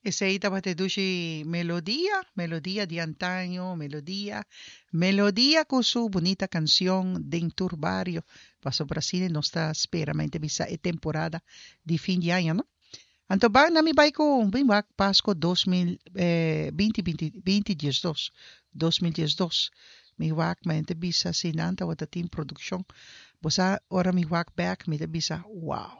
Esei tabata e dushi melodia, melodia di antaño, melodia, melodia ku su bunita kanshon den tur bario. Pasobra asina nos ta spera mente bisa e temporada di fin di aña, no? Anto ban na mi bai ku bin wak Pasko dos mil binti binti binti diesdos, 2012. Mi wak mente bisa si nan tabata tin produkshon. Bo sa ora mi wak bek mi ta bisa, wow!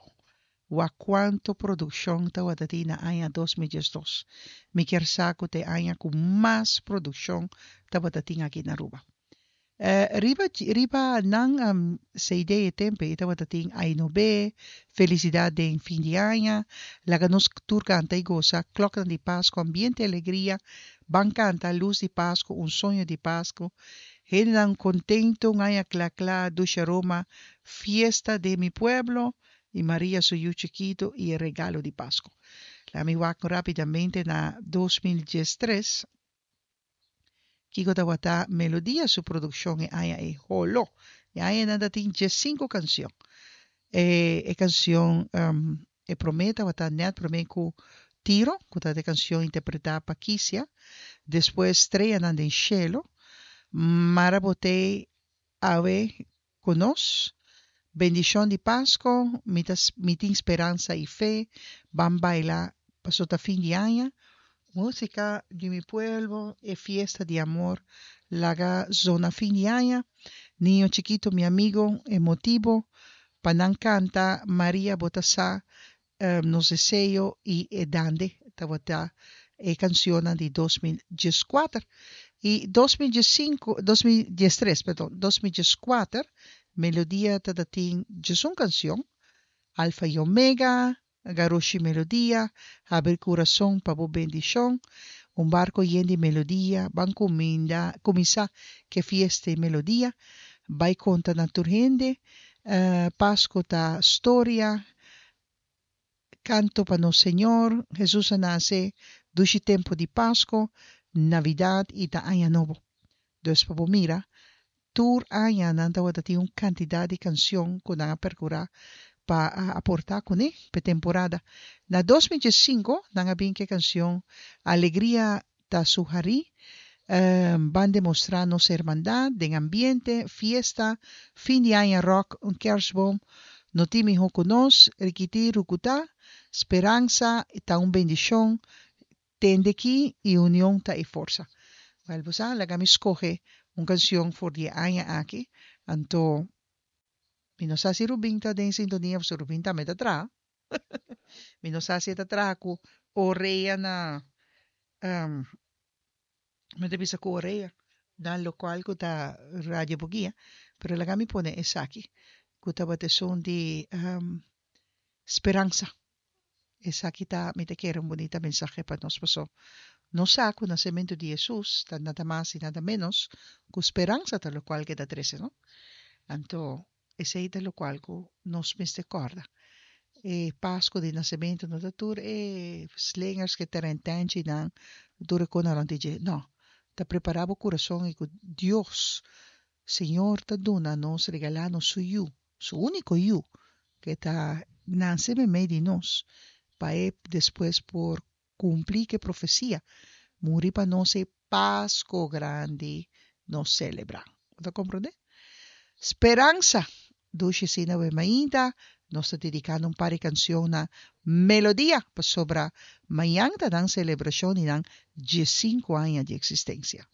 Wak cuanto produccion tawata tin na aña 2012. Mi kier sa cu ta e aña cu mas produccion tabata tin aki na Aruba. Riba riba nan CD e tempo ey tabata tin Ay No Be, Felicidad den fin di aña, Laga nos tur canta y goza, Kloknan di Pasco, Ambiente Alegria, Ban canta, Luz di Pasco, Un soño di Pasco, Hendenan contento, Un aña cla cla, Dulce Aroma, Fiesta den mi pueblo, i Maria su yu chikitu i e regalo di Pasku. Laga mi wak rápidamente na 2013 kiko tabata Melodia su produkshon e aña ei. Holo! E aña nan ta tin diesinku kansion. E e kansion e promé tabata nèt promé ku Tiro, ku tabata e kansion interpretá pa Kisia, despues Streanan den Shelu, Mara Botei Awe ku nos. Bendishon di Pasko, mi ta mi tin speransa i fe, ban baila paso ta fin di aña. Músika di mi pueblo, e fiesta di amor, laga zona fin di aña. Niño chikito mi amigo, e motibo pa nan kanta Maria bo ta sa nos deseo i e dande tabata e cancionnan di 2014 i 2015 2013 perdon 2014 Melodia tabata tin djesun cancion Alfa i Omega Garoshi Melodia Habri Curason pa bo bendicion Un barco yen di melodia Ban cuminda cuminsa ke fiesta i melodia Bai conta na tur hende Pasco ta storia Canto pa nos Señor, Jesus a nace, dushi tempo di Pasco, Navidad y ta Aña Nobo. Dus pa bo mira, tur aña nan tawata tin un cantidad di cancion cu nan a percura pa a aporta cune p'e temporada. Na 2015 nan a bin cu e cancion Alegria ta su harí, ban demostrá nos hermandad den ambiente, fiesta, fin di aña rock, un kerstboom, no tin mihó ku nos, rikití rukutá, speransa ta un bendishon, tende ki i union ta e forsa. Wèl bo sa, laga mi skohe un kanshon for di e aña aki, anto mi no sa si Rubin ta den sintonia pasobra Rubin tambe ta traha. Mi no sa si e ta traha ku orea na mi ta bisa ku orea na lokual ku ta Radio Boguia pero laga mi pone esaki ku tabata esun di speransa esaki ta mi ta kere un bunita mensahe pa nos paso nos sa ku nasementu di Hesus ta nada mas i nada menos ku speransa ta lokual ke ta trese no anto Esei ta lokual ku nos mester kòrda. E Pasku di Nasementu no ta tur e slingers ku e terentenchinan, tur e konan rònt di dje. No. Ta prepará bo kurason i ku Dios, Señor ta duna nos, regalá nos su Yu, su úniko Yu, ku ta nase meimei di nos, pa e despues por Cumpli cu e profecia, muri pa nos e Pasco grandi nos celebra. Bo ta comprende? Speransa! Dushi asina we mainta nos ta dedicando un par di cancion na Melodia pasobra mañan ta nan celebracion di nan diescinco aña di existencia.